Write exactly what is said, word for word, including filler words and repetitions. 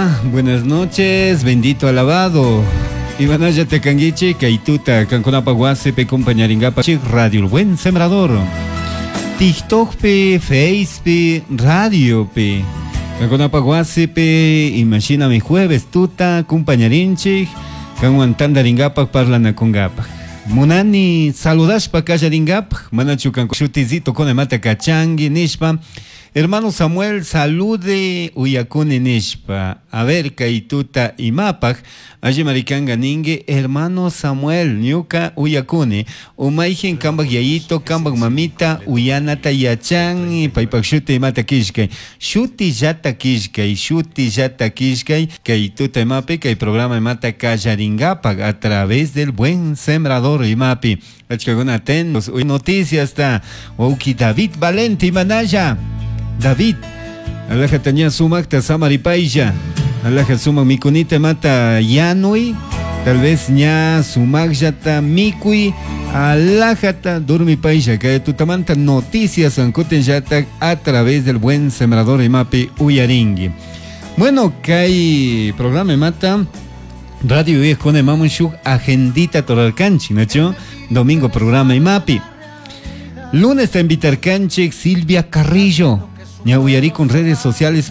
Hola, buenas noches, bendito alabado. Imanalla tekanguichi, kaituta, kankunapa wasipi compañaringapa Radio El Buen Sembrador. TikTok pi, Face pi, Radio pi. Kankunapa wasipi, imagina mi jueves tuta, compañarinchik, kanwan tandaringapa parlanakungapa. Munani saludashpa kallaringapa, manachu kanku shutizito con mata kachangi nishpa. Hermano Samuel, salude uyakuni nishpa. A ver, kaituta imapaj. Alli maricanga ningue, hermano Samuel, ñuka uyakuni. Umayjin kambak yayito, kambak mamita, uyanata yachan, paypak shuti imata kishkay. Shuti llata kishkay, shuti llata kishkay, kaituta imapi, kay programa imata kallaringapak a través del Buen Sembrador imapi. Achkakuna atentos, noticias ta, wawki David Valente imanalla. David, alaja taña sumakta samaripaylla, alaja sumak mikunita mata yanui, tal vez ña sumakllata mikui, alajata durmipaylla, que tutamanta noticias ankuten llata a través del Buen Sembrador imapi uyaringui. Bueno, kay programa mata Radio con imamun agendita toralkanchi, ¿no? Domingo programa imapi. Lunes te invitar canchik Silvia Carrillo. Ña uyari con redes sociales